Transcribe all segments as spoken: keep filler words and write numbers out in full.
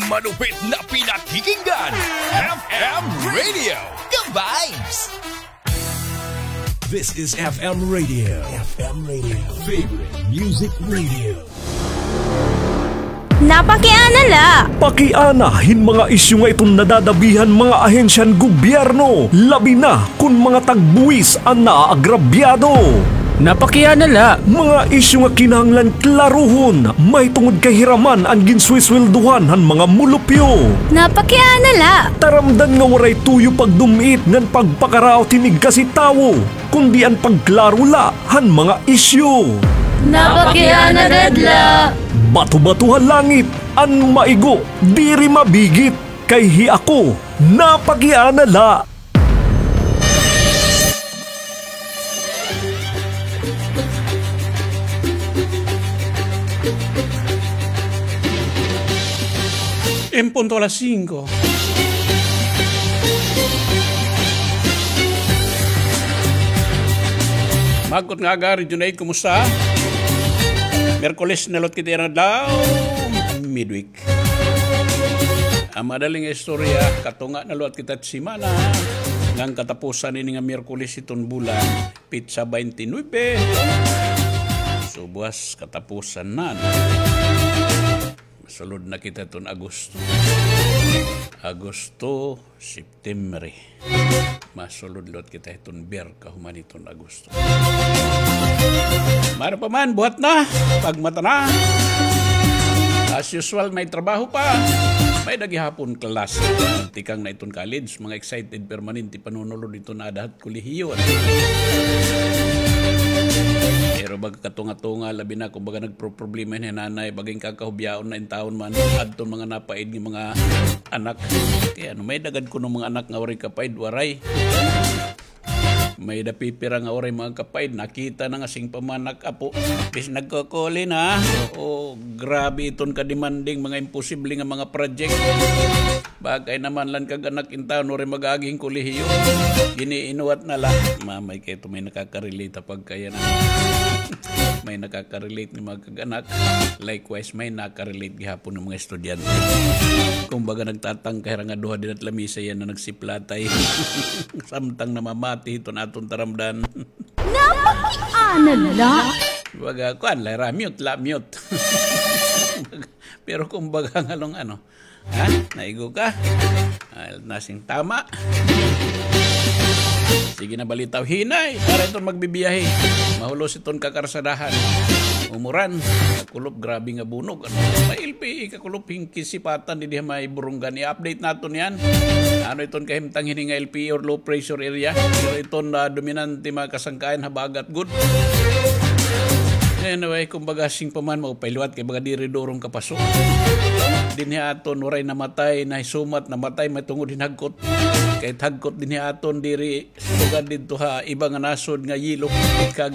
Malupit na pinakikinggan, F M Radio, The Vibes. This is F M Radio. F M Radio. Favorite Music Radio. Napakiana la. Pakiana hin mga isyu nga iton nadadabihan mga ahensya han gobyerno, labi na kon mga tagbuwis an naaagrabyado. Napakiana la. Mga isyu nga kinahanglan klarohon, mahitungod kay hiraman an ginsuwesweldohan han mga mulupyo. Napakiana la. Taramdan nga waray tuyo pagdum-it ngan pagpakaraot hin igkasi tawo, kundi an pagklaro la han mga isyu. Napakiana gad la. Bato-bato ha langit, an maigo, diri mabigit, kay hi ako, napakiana la. En punto alas singko. Magkot nga aga, Region eight, kumusta? Miyerkules na liwat kita yana adlaw, midweek. An madali nga istorya, katunga na liwat kita hit semana, ngan katapusan ini nga Miyerkules hiton bulan, petsa twenty-nine. So, buwas katapusan na. Masulod na kita hiton Agosto. Agosto, September. Masulod liwat kita hiton Ber, kahuman hiton Agosto. Maayo pa man, buhat na, pagmata na. As usual, may trabaho pa. May-ada gihapon klase. Tikang na iton college, mga excited, permanente panunulod iton aada hit kolehiyo. Pero baga katunga-tunga, labi na kon baga nagproproblema hin nanay, baga ginkahubiaon na intawon man, adton mga napaid nga mga anak. Kay ano, may-ada gad kuno mga anak nga waray kapaid, waray. May-ada pipira nga waray mga kapaid, nakita na nga sing pamanak apo. Bis nagkukuli na. Oo, grabe iton kademanding, mga imposible nga mga project. Bagay naman la an kag-anak intawon waray mag-agi hin kolehiyo. Giniinuwat na la. Mamay kay ito may nakaka-relate ha pagkaya na. May nakaka-relate nga mga kag-anak. Likewise, may naka-relate gihapon nga mga estudyante. Kumbaga, nagtatangka hira nga duha dinhi ha lamesa yana nagsiplatay. Samtang namamati hiton aton taramdan. Napakiana la. Baga, kuan la hira, mute la, mute. Pero kumbaga, ngalong ano, ha? Naigo ka? Ah, nasing tama. Sige na, balitaw hinay. Para iton magbibiyahe. Mahulos iton kakarsadahan. Umuran. Kakulop, grabe nga bunog. Ano? May L P E kakulop, hin kisipatan dinhi ha may Borongan. I-update naton yan. Ano iton kahimtang hini nga L P E or low pressure area? Pero iton, ah, dominante mga kasangkayan, habagat gud. Anyway, kumbaga, sing pa man, maupay liwat kay baga diri durong kapaso. Dinhi aton, waray namatay, nahisumat, namatay, may tungod hin hagkot. Kay hagkot dinhi aton, diri sugad didto ha iba nga nasod nga yelo. Kag,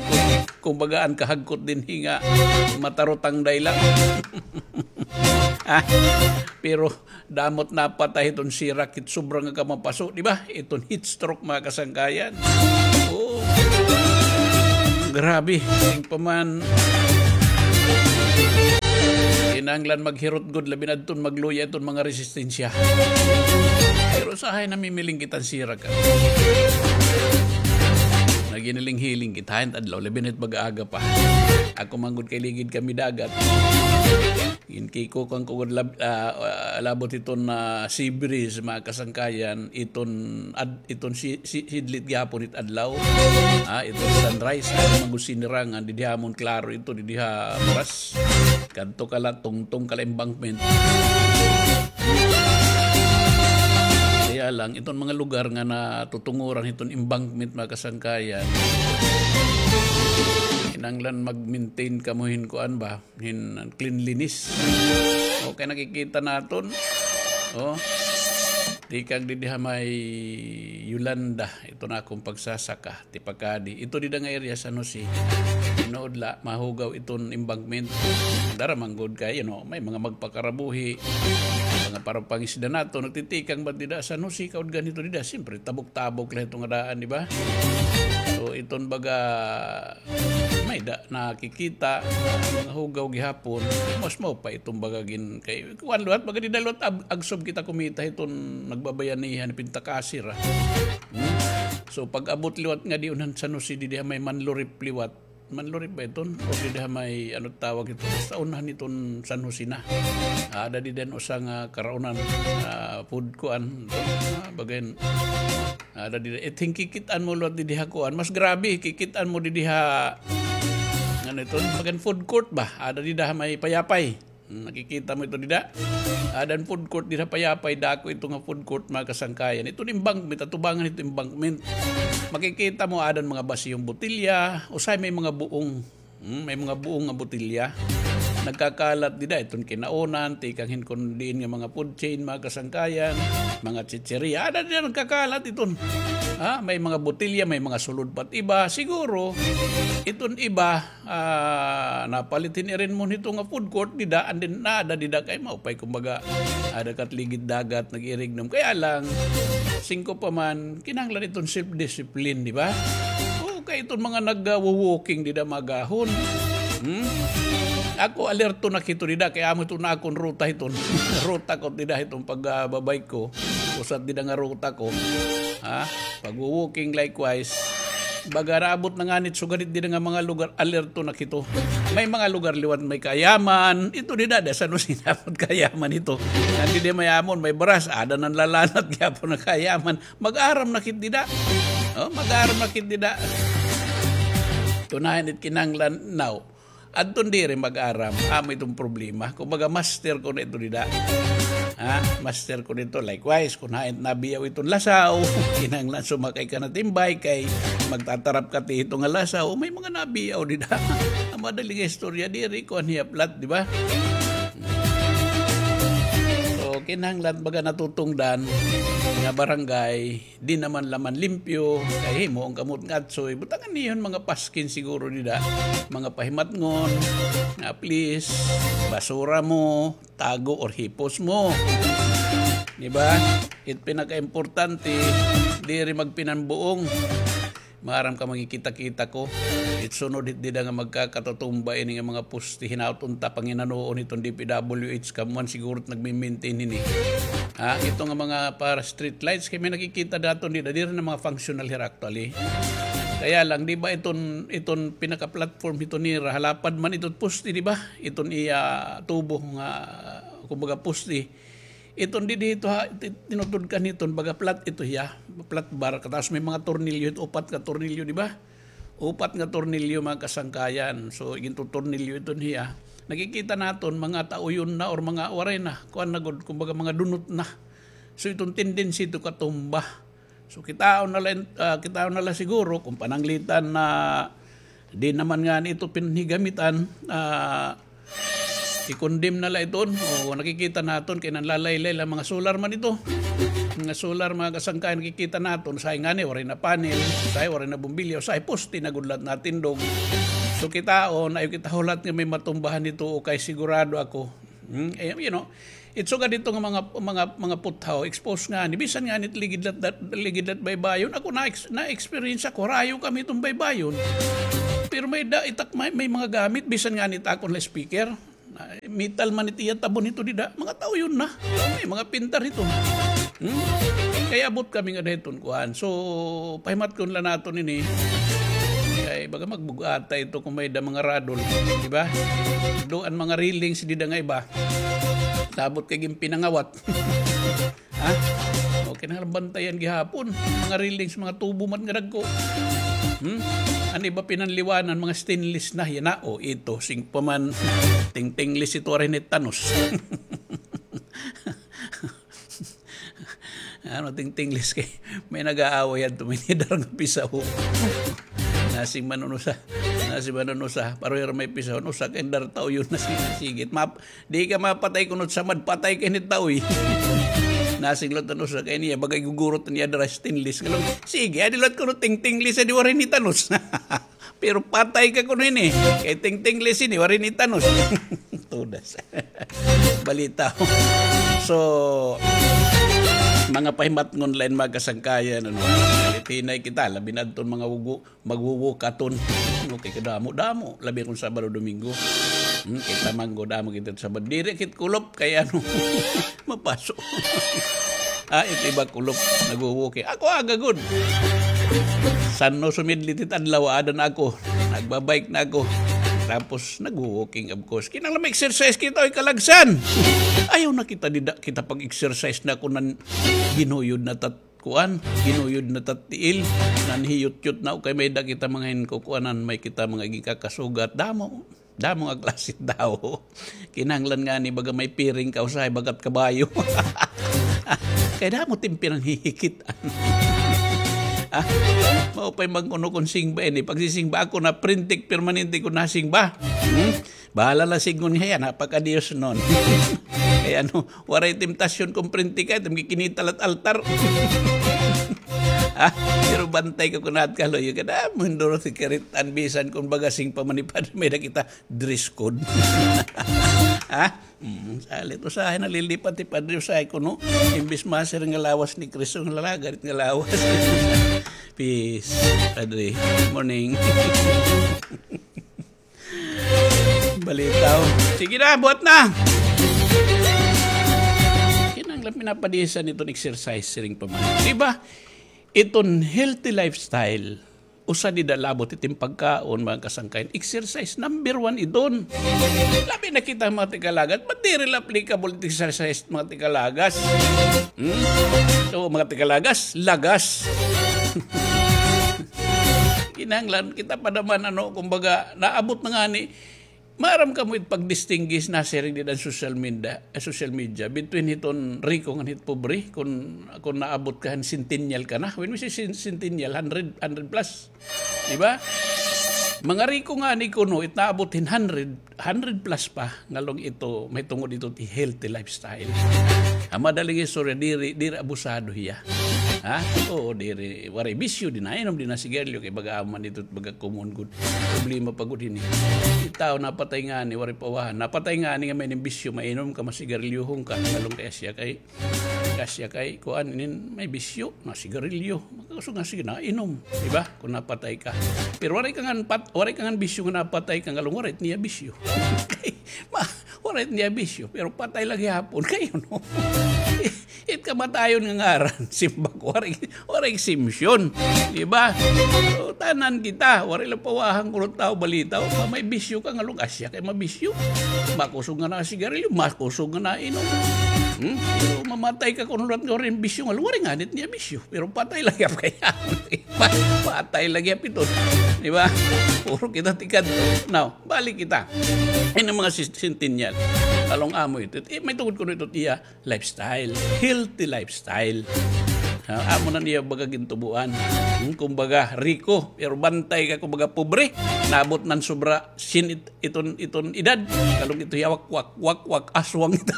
kumbaga, an kahagkot dinhi nga matarutang dayla. Ah, pero Damo it napatay hiton sirak, hit sobra nga kamapaso, di ba? Iton heat stroke, mga kasangkayan. Oo. Grabe. Sing pa man. Kinahanglan maghirot gud, labi na adton magluya iton mga resistensya. Pero usahay namimiling kita hin sirak, ah. Naginiling-hiling kita hin adlaw, labi na it mag-aga pa. Ako man gud kay ligid kami dagat. Ginkikukan ko gud lab-, ah, ah, labot iton, ah, sea breeze, mga kasangkayan, iton ad-, iton si-, si-, sidlit gihapon it adlaw. Ah, iton sunrise, ano man gud sinirangan, didi hamon klaro ito, didi ha Muras. Kadto ka la, tungtong ka la embankment. Kaya lang, iton mga lugar nga natutunguran hiton embankment, mga kasangkayan, kinahanglan mag-maintain kamo hin kuan ba? Hin cleanliness. Okay, nakikita naton. Oh. Tikang didi ha may Yolanda, ito na akong pagsasaka, tipakadi. Ito dida nga area, San Jose. Tinuod la, mahugaw iton embankment. Dara man gud kay, you know, may mga magpakarabuhi, Para pangisda naton, nagtitikang ba dida San Jose, kaudgan hito dida, siyempre, tabok-tabok la hito nga daan, di ba? So, iton baga, may da, nakikita, mga hugaw gihapon, mas maupay iton baga gin-, kay, kuwan liwat, baga dida liwat, ag-, agsob kita kumita hiton nagbabayanihan, pintakasir, ah. Hmm? So, pag-abot liwat nga diun han San Jose, didi ha may Manlurip liwat, Manlurip ba iton? O dida ha may, ano tawag ito? Basta unahan iton San Jose na. Ada dida usa nga karaunan, ah, food kuan. Ah, bagayan. Ada dida. It, kikit-an mo liwat didi ha kuan. Mas grabe, kikit-an mo didi ha, ano iton? Bagayan food court ba? Ada dida ha may Payapay. Hmm, nakikita mo ito dida? Ada an food court dida Payapay, dako ito nga food court, mga kasangkayan. Ito embankment, atubangan ito embankment. Makikita mo, ada an mga basihong botilya, usahay may mga buong, hmm, may mga buong nga botilya. Nagkakalat dida, iton kinaunan, tikang hin kon diin nga mga food chain, mga kasangkayan, mga chicheria. Ada dida nagkakalat iton. Ha, may mga botilya, may mga sulod pa it iba. Siguro, iton iba, ah, napalit hin irin mo hito nga food court dida, and then naada dida kay maupay, kumbaga, ada ka it ligid dagat, nag-iirignom. Kaya lang, singko pa man, kinahanglan iton self-discipline, di ba? O, kay iton mga nag-walking dida magahon. Hmm? Ako, alerto na kito dida, kay amo iton akon ruta hiton. Ruta ko dida hiton pag, ah, babike ko. Usa it dida nga ruta ko. Ha? Pag-walking likewise. Baga naabot na ngani it sugad it dida nga mga lugar, alerto na kito. May mga lugar liwat may kayaman. Ito dida, da San Jose naabot kayaman ito. Ngan dida may amon, may baras, ada na lalanat gihapon nga kayaman. Mag-aram na kit dida. O, mag-aram na kit dida. Kunahan it kinahanglan now. Adton diri mag-aram, amo iton problema. Kumbaga, master ko na ito dida. Ha? Master ko nito. Likewise, kon hain nabiyaw iton lasaw, kinahanglan sumakay ka na timbay kay magtatarap ka ti hito nga lasaw. May mga nabiyaw dida. Ang madali nga istorya, diri ko an hiya flat, di ba? So, kinahanglan baga natutungdan nga barangay, di naman la man limpyo, kay himo an kamot nga atsoy, butangan niyo hin mga paskin siguro dida, mga pahimatngon, nga please, basura mo, tago or hipos mo. Di ba? It pinakaimportante, diri magpinanbuong. Maaram ka, makikita-kita ko. It sunod hit dida nga magkakatutumba ini nga mga poste, hinaot unta panginanoon hiton D P W H, kamo man siguro it nagmi-maintain hini. Ha, ito nga mga para street lights, kay may nakikita naton dida, diri na mga functional hira actually. Kaya lang, di ba iton, iton pinaka-platform hiton nira, halapad man iton poste, di ba? Iton iya tubo nga, kumbaga, poste. Iton didi ito ha, ti-, tinutudkan hiton, baga flat ito hiya, flat bar, kataas may mga tornilyo, ito upat ka tornilyo, di ba? Upat nga tornilyo, mga kasangkayan. So, gintutornilyo iton hiya. Nakikita naton, mga tauyon na or mga waray na, kuan na gud, kumbaga mga dunot na. So, iton tendency ito katumba. So, kitaon na la, ah, kitaon na la siguro kon pananglitan na di naman ngani ito pinhigamitan, ah, i-condemn na la iton. O, nakikita naton kay nanlalaylay la, mga solar man ito. Mga solar, mga kasangkayan, nakikita naton, usahay ngani waray na panel, usahay waray na bombilya, usahay poste na gud la it natindog. So, kitaon, ayaw kita hulat nga may matumbahan hito, o kay sigurado ako. Hmm? Eh, you know, it sugad hito nga mga, mga, mga puthaw, expose ngani, bisan ngani it ligid la it, ligid la it baybayon. Ako na-ex-, na-experience ako, harayo kami hiton baybayon. Pero may da, itak, may, may mga gamit, bisan ngani it akon la speaker. Ah, metal man it iya tabon hito dida, mga tauyon na. May mga pintar hito. Hmm? Kay abot kami ngada hiton kuan. So, pahimatkon la naton ini. Kay baga magbug-at ito kon may da mga radol, di ba? Do an mga railings dida nga iba. Labot kay ginpinangawat. Ha? O, kinahanglan bantayan gihapon. Mga railings, mga tubo man nga dagko. Hmm? An iba pinanliwanan, mga stainless na. Yana, o, ito, singko pa man. Tingtingless ito, waray na it tanos. Ano, tingtingless kay may nag-aaway adto, may nidara nga pisaw. Nasing man an usa, nasing man an usa, pareho hira may pisaw, an usa kay nidara tauyon na, sige, sige. Map-, di ka mapatay kuno it samad, patay ka ini tauy. Nasing liwat an usa kay niya, baga igugurot niya dira stainless. Sige, adi liwat kuno tingtingless, adi waray ni tanos. Pero patay ka kuno ini. Kay tingtingless ini, waray ni tanos. Tudas. balita. So, mga pahimatngon la ini, mga kasangkayan, ano, litinay kita, labi na adton mga wugo, magwuwukaton. Okay, kadamo-damo, labi kon Sabado, Domingo. Hmm, kita man gud, damo kita Sabado. Diri kit kulop, kay ano, mapaso. Ah, it iba kulop, nagwo-walking. Ako aga gud. San-o sumidlit it adlaw, aada na ako. Nagbabike na ako. Tapos, nagwo-walking, of course. Kinahanglan ma-exercise kita, oy, kalagsan. Ayaw na kita dida, kita pag-exercise na kunan ginuyod na tat-, kuan, ginuyod na tat-, tiil, nanhiyot-yot na, o kay may-ada kita mga hinkukuanan, may kita mga ginkakasugat. Damo. Damo nga klase tawo. Kinahanglan ngani baga may piring ka usahay bagat kabayo. Kay damo it im pinanghihikit-an. Ah, mao pay magkuno kon singba ini. Pagsisingba ako na printik permanente kon nasingba. Hmm? Bahala la sidngon hiya, napakadiyos non. Kay ano, waray temptasyon kon printik kay, it im gikinita la it altar. Ah, pero bantay ka kon aada ka luyo, kadamo hin Dorothy Karitan, bisan kon baga singba man ni Padre, may-ada kita dress code. Ha? Mm, salit, usahay nalilipat hi Padre, usahay kuno, imbis masiring nga lawas ni Kristo, nga lagarit nga lawas. Peace, Padre. Morning. Balita, o. Sige na, buhat na. Kinahanglan pinapadisan iton exercise, siring pa man. Di ba? Iton healthy lifestyle. Usa dida labot it im pagkaon, mga kasangkayan. Exercise, number one iton. Labi na kita, mga tikalagas. Ba't diri la applicable it exercise, mga tikalagas? Hmm? So, mga tikalagas, lagas. Kinahanglan kita pa naman, ano, kumbaga, naabot na ngani, maaram kamo it pagdistinguish, nasiring dida an social media, eh, social media, between hiton riko ngan hit pobre, kon, kon naabot ka han centennial ka na. When we say cen-, centennial, hundred, hundred plus. Di ba? Mga riko ngani kuno, it naabot hin hundred, hundred plus pa, ngan laung ito, mahitungod ito it healthy lifestyle. An madaling istorya, diri, diri abusado hiya. Ha? Oo, diri, waray bisyo, di nainom, di nasigarilyo, kay baga amo man ito, baga common gud. Problema pa gud hini. It tawo napatay ngani, waray pawahan. Napatay ngani nga may-ada hin bisyo, mainom ka, masigarilyohon ka, ngan laung kay asya kay, asya kay, kuan, inin, may bisyo, masigarilyo. Makakusog nga sige, nainom, di ba? Kon napatay ka. Pero waray ka ngan pat-, waray ka ngan bisyo nga napatay ka, ngan laung waray it niya bisyo. Kay, ma-, waray it niya bisyo, pero patay la gihapon. Kay, ano? It kamatayon nga ngaran, simbako, waray, waray exemption. Di ba? So, tanan kita, waray la pawahan kuno it tawo, balita, o, may bisyo ka, ngan laung asya kay mabisyo. Makusog nga nasigarilyo, makusog nga nainom. Hmm? Pero mamatay ka kuno liwat nga waray hin bisyo, ngan laung waray ngani it niya bisyo. Pero patay la gihap kay, pa-, patay la gihap ito. Di ba? Puro kita tikadto. Now, balik kita. Ini mga sis-, centennial. Ngan laung amo ito. Eh, mahitungod kuno ito it iya lifestyle. Healthy lifestyle. Ah, amo na niya baga gintubuan. Hmm, kumbaga, riko. Pero bantay ka, kumbaga, pobre. Naabot na hin sobra sin it-, iton, iton edad. Ngan laung ito hiya, wak, wak, wak, wak, aswang ito.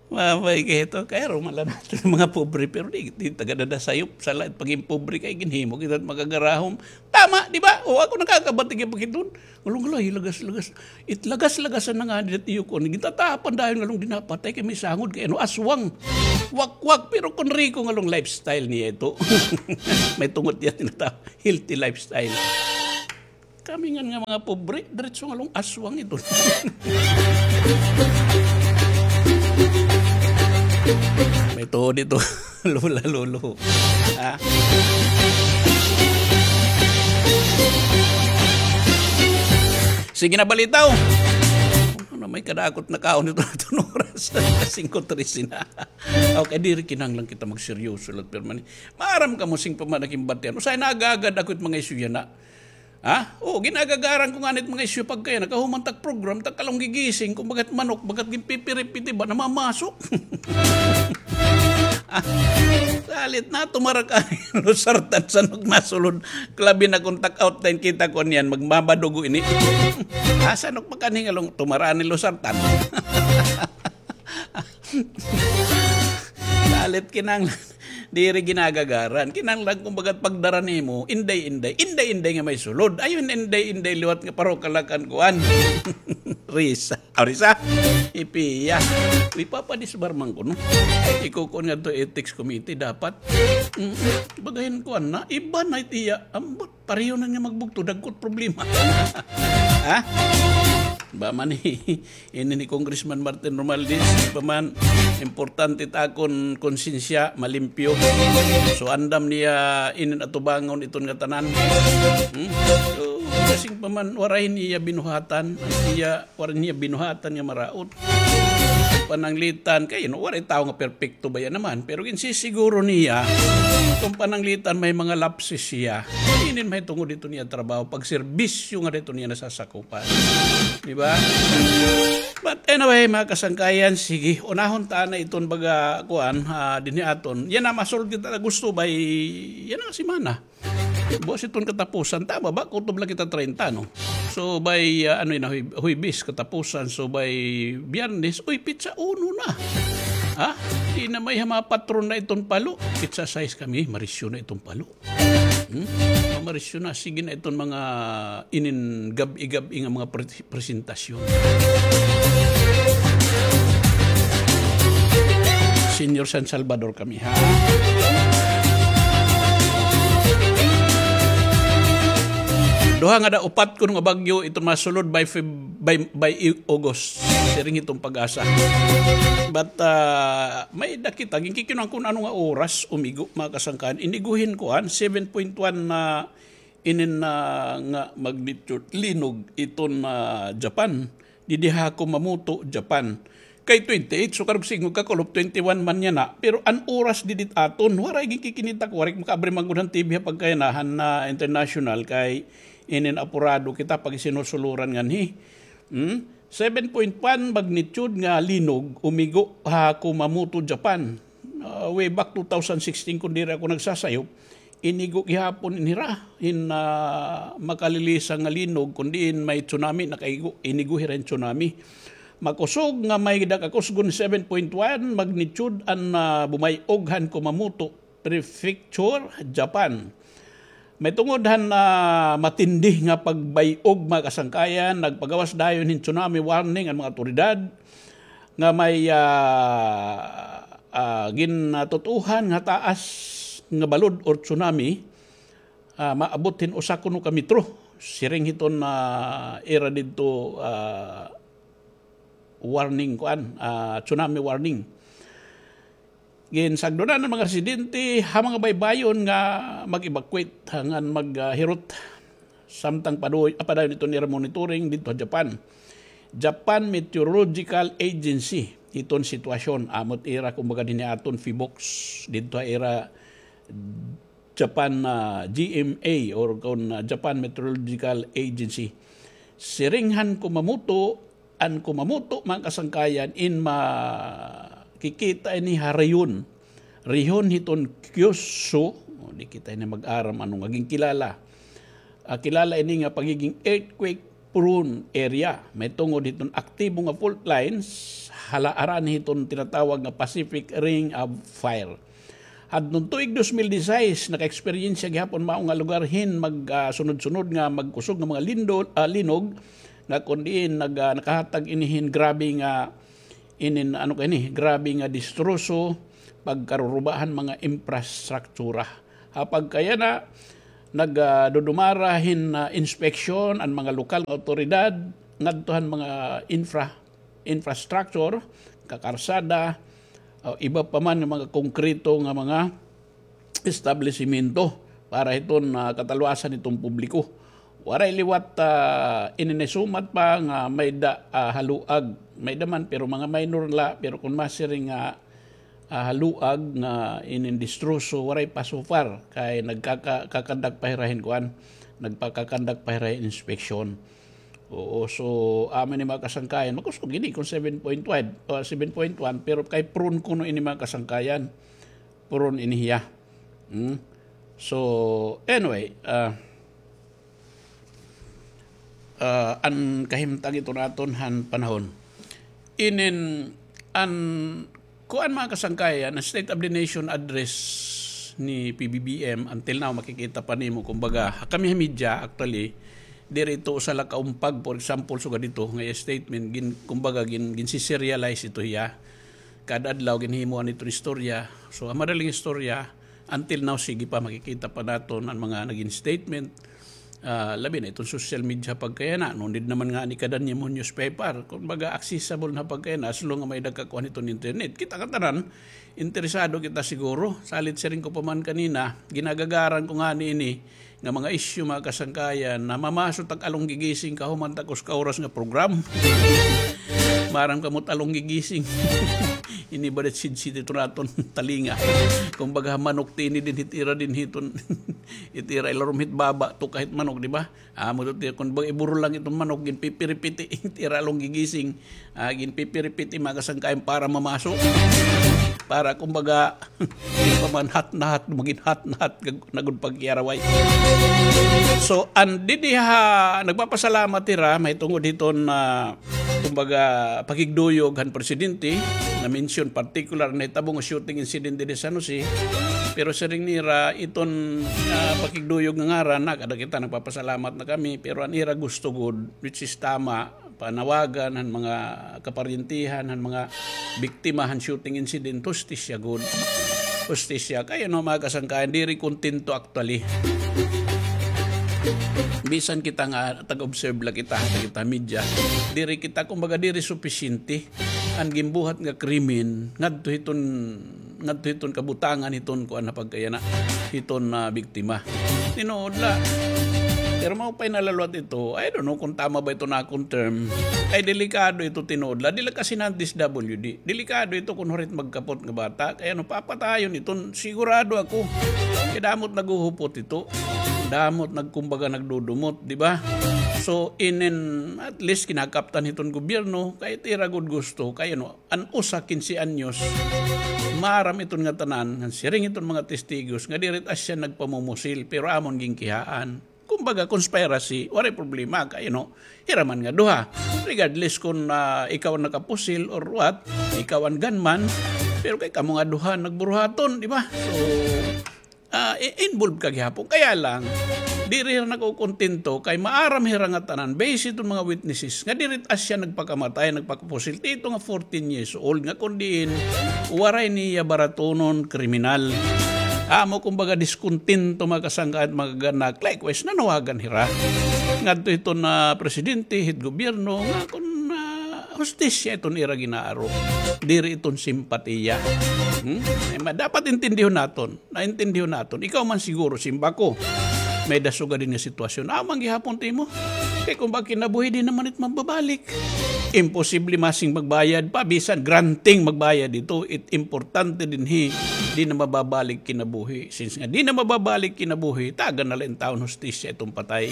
Maupay kay ito, kay aron man la naton mga pobre, pero di, di taga-dadasayop, sala it pagin pobre kay ginhimo kita it makagarahom. Tama, di ba? O, ako nakakabatig hin pagkita-on. Ngan laung, hala, lagas-lagas. It lagas-lagasan na ngani it iyo kuan. Gintatapan dayon ngan laung di napatay kay may sangod kay ano, aswang. Wak-wak, pero kon riko ngan laung lifestyle niya ito. Mahitungod hiya tinatawag healthy lifestyle. Kami ngan nga mga pobre, diretso ngan laung aswang ito. May tuod ito, lola, lolo. Ha? Sige na, balita, o. Ano, may kadakot na kaon ito na iton oras. Singko trese na. Okay, diri kinahanglan kita magseryoso la, pero man, maaram kamo, siring pa man ak, it batian. Usahay nag-aagad ako it mga isyu yana. Ha? O, gin-aagagaran ko ngani it mga isyu pagkaya, nakahuman tak program, tak kalong gigising, kon bagat manok, bagat ginpipiripiti ba, namamaso. Ah, salit na, tumara ka, losartan, sanok nasulod. Labi na kon tak outline kita ko niyan, magmabadugo ini. Ah, sanok pa kani ngan laung, tumara ni losartan. Salit kinahanglan. Diri ginagagaran. Kinahanglan, kumbaga, pagdara nimo, inday-inday. Inday-inday nga may sulod. Ayaw inday-inday liwat nga parokalakan kuan. Risa. Ah, Risa. Ipiya. Uy, papadisbar man kuno. Ikukuan ngadto ethics committee dapat. Mm, bagahin kuan na. Iba na it iya. Ambot. Pareho na nga magbugto, dagko it problema. Ha? Ba man ini ni Congressman Martin Romualdez, ba man, importante it akon konsensya, malimpyo. So, andam niya inin atubangon iton ngatanan. Hmm? So, kasing pa man, waray niya binuhatan, iya, waray niya binuhatan nga maraot. Pananglitan, kay, you know, waray tawo nga perpekto baya naman. Pero ginsisiguro niya, kon pananglitan may mga lapses siya. Inin mahitungod iton iya trabaho, pagserbisyo nga iton iya nasasakupan. Di ba? But anyway, mga kasangkayan, sige, unahon ta na iton baga, kuan, ah, dinhi aton. Yana, masulod kita na gusto by, yana nga semana. Buwas iton katapusan, tama ba? Kutob la kita treinta, no? So, by, ah, ano yana, Huy-, Huwebes katapusan. So, by Biyernes, uy, petsa uno na. Ha? Di na may ha mga patron na iton palo. Petsa sais kami, marisyo na iton palo. Hmm? Mamarisyo na, sige na iton mga inin gab-i-gab-i nga mga pre-, presentasyon. Señor San Salvador kami, ha? Duha nga da, upat kuno nga bagyo iton masulod by Feb-, by, by i-, August. Siring iton PAGASA. But, ah, may da kita, ginkikinuan kun ano nga oras umigo, mga kasangkayan. Inigo hin kuan, seven point one na inin na nga magnitude linog iton, ah, Japan. Didi ha Kumamoto, Japan. Kay twenty-eight, so karuyag sidngon kakulop, twenty-one man yana. Pero an oras didi ha aton, waray ginkikinita ko, waray makaabri man gud han T V ha pagkayana han, ah, international kay inin apurado kita pag sinusuloran nganhi. Hmm? Seven point one magnitude nga linog umigo ha Kumamoto, Japan. Ah, way back two thousand sixteen, kon diri ako nagsasayop, inigo gihapon ini hira hin, ah, makalilisa nga linog, kon diin may tsunami, nakaigo, inigo hira hin tsunami. Makusog nga may da ka kusgon seven point one magnitude an, ah, bumay-og han Kumamoto Prefecture, Japan. Mahitungod han, ah, matindi nga pagbay-og, mga kasangkayan, nagpagawas dayon hin tsunami warning an mga awtoridad nga may, ah, ah, gintutuohan nga taas nga balod or tsunami, ah, maabot hin usa kuno ka metro. Siring hiton, ah, ira didto, ah, warning kuan, ah, tsunami warning. Ginsagdonan an mga residente ha mga baybayon nga mag-evacuate ngan maghirot samtang paduy-, ah, padayon iton ira monitoring didto ha Japan. Japan Meteorological Agency, iton sitwasyon, amo it ira, kumbaga, dinhi ha aton PHIVOLCS, didto ha ira Japan, ah, G M A or kon, ah, Japan Meteorological Agency. Siring han Kumamoto, an Kumamoto, mga kasangkayan, in makikita ini ha rehiyon. Rehiyon hiton Kyushu, o, di kita ini mag-aram ano nga ginkilala. Ah, kilala ini nga pagiging earthquake prone area. Mahitungod hiton aktibo nga fault lines, hala, harani hiton tinatawag nga Pacific Ring of Fire. Hadton tuig dos mil disais, naka-eksperyensya gihapon mao nga lugar hin mag, ah, sunod-sunod nga magkusog nga mga lindol, ah, linog, nga kon diin nag, ah, nakahatag ini hin grabe nga, inin, ano ka ini, grabe nga distroso, pagkaruruba han mga infrastruktura. Ha pagkayana, nag, ah, dudumara hin, ah, inspeksyon an mga lokal nga awtoridad ngadto han mga infra-, infrastructure, kakarsada, o iba pa man nga mga konkreto nga mga establisimento para hiton, ah, kataluasan hiton publiko. Waray liwat, ah, ininisumat pa nga may da, ah, haluag. May da man, pero mga minor la, pero kon masiring nga, ah, haluag nga inindistroso, waray pa so far. Kay nagkaka-, kakandak pa hira hin kuan, nagpakakandak pa hira hin inspeksyon. Oo, so, amo ini mga kasangkayan. Makusog gini kon seven point one, o, seven point one, pero kay prone kuno ini mga kasangkayan. Prone ini hiya. Hmm? So, anyway, ah, ah, an kahimtang iton aton han panahon. Inin, an, kuan mga kasangkayan, an State of the Nation Address ni P B B M, until now, makikita pa nimo, kumbaga, kami ha media, actually, diri ito usa la ka umpag, for example, sugad dito, nga iya statement, gin, kumbaga, gin, gin-serialize ito hiya. Kada adlaw, ginhimuan ito istorya. So, ang madaling istorya, until now, sige pa, makikita pa naton ang mga naging statement. Ah, labi na iton social media pagkayana. No need naman ngani kada nimo newspaper. Kumbaga, accessible na pagkayana as long nga may-ada ka kuan iton internet. Kita ka tanan, interesado kita siguro. Salit siring ko pa man kanina, ginagagaran ko ngani ini nga mga isyu, mga kasangkayan, na mamaso tak along gigising kahuman takos ka oras nga program. Maaram kamo ta along gigising. Ini ba dat sidsid ito naton talinga? Kumbaga, manok tini din hit ira din hiton. It ira ilarom hit baba, to kahit manok, di ba? Amo to, ti-, kun baga iburo lang iton manok, ginpipiripiti, it ira along gigising, ah, ginpipiripiti, mga kasangkayan, para mamaso. Para, kumbaga, di pa man hot na hot, magin hot na hot, gag-, nagud pagkiaraway. So, an didi ha, nagpapasalamat hira, mahitungod hiton, ah, kumbaga, pakigduyog han presidente, na-mention particular na hitabo nga shooting incident didi San Jose. Pero siring nira, iton, ah, pakigduyog nga ngaran, na kada kita nagpapasalamat na kami, pero an ira gusto gud, which is tama, panawagan han mga kaparyentihan, han mga biktima han shooting incident, hustisya gud. Hustisya. Kay ano, mga kasangkayan, diri kontento actually. Bisan kita nga taga-observe la kita, kita media, diri kita, kumbaga, diri supisyente an ginbuhat nga krimen ngadto hiton, ngadto hiton kabutangan hiton kuan na pagkayana, hiton, ah, biktima. Tinuod la. Pero maupay na la liwat ito. I don't know kung tama ba ito na akon term. Ay, delikado ito, tinuod la. Dili kasi na D S W D. Delikado ito kun hurit magkapot nga bata. Kay ano, papatayon iton, sigurado ako. Kay damo it naghuhupot ito. Damo it nagkumbaga nagdudumot, di ba? So, inin, at least kinakaptan hiton gobyerno, kay it ira gud gusto, kay ano, an usa kinse anyos, maaram iton ngatanan, ngan siring iton mga testigos, nga diri it asya nagpamumusil, pero amon ginkihaan. Kumbaga, conspiracy, waray problema, kay ano, hira man nga duha. Regardless kun, ah, ikaw an nakapusil or what, ikaw an gunman, pero kay kamo nga duha nagburuhaton, di ba? So, ah, i-, involved ka gihapon. Kaya lang, diri hira nakukontento, kay maaram hira ngatanan, based hiton mga witnesses, nga diri it asya nagpakamatay, nagpakapusil, ti ito nga fourteen years old, nga kun diin, waray niya baratunon kriminal. Amo, kumbaga, diskontento, mga kasangkayan, mga kaanak. Likewise, nanawagan hira ngadto hiton, ah, presidente, hit gobyerno, nga kun, ah, hustisya iton ira ginaaro. Diri iton simpatiya. Hmm? Ay, ma-, dapat intindihon naton. Naintindihon naton. Ikaw man siguro, simbako, may-ada sugad ini nga sitwasyon. Amo man gihapon it imo. Kay kun ba kinabuhi, di naman it mababalik. Imposible masing magbayad pa, bisan granting magbayad ito, it importante dinhi, di na mababalik kinabuhi. Since nga di na mababalik kinabuhi, tagan na la in taon hustisya iton patay.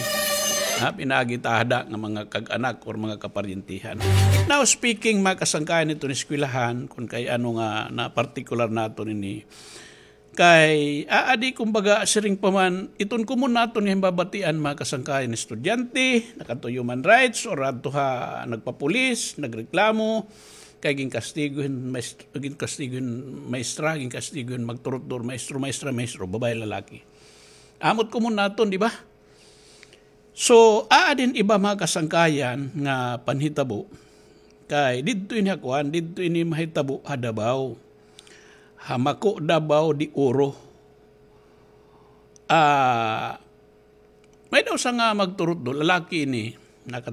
Ha, pinaagi ta hada nga mga kag-anak or mga kaparyentihan. Now, speaking, mga kasangkayan, iton eskwelahan, kun kay ano nga na partikular naton ini, kay aadi, kumbaga, siring pa man, iton common naton nga himbabatian, mga kasangkayan, estudyante, nakadto human rights, or adto ha nagpapulis, nagreklamo, kay ginkastigo hin maest-, ginkastigo hin maestra, ginkastigo hin magturutdo, maestro, maestra, maestro, babaye, lalaki. Amo it common naton, di ba? So, aadi hin iba, mga kasangkayan, nga panhitabo. Kay didto ini ha kuan, didto ini mahitabo ha Davao. Ha Maco, Davao de Oro. Ah, may-ada usa nga magturutdo, lalaki ini, naka-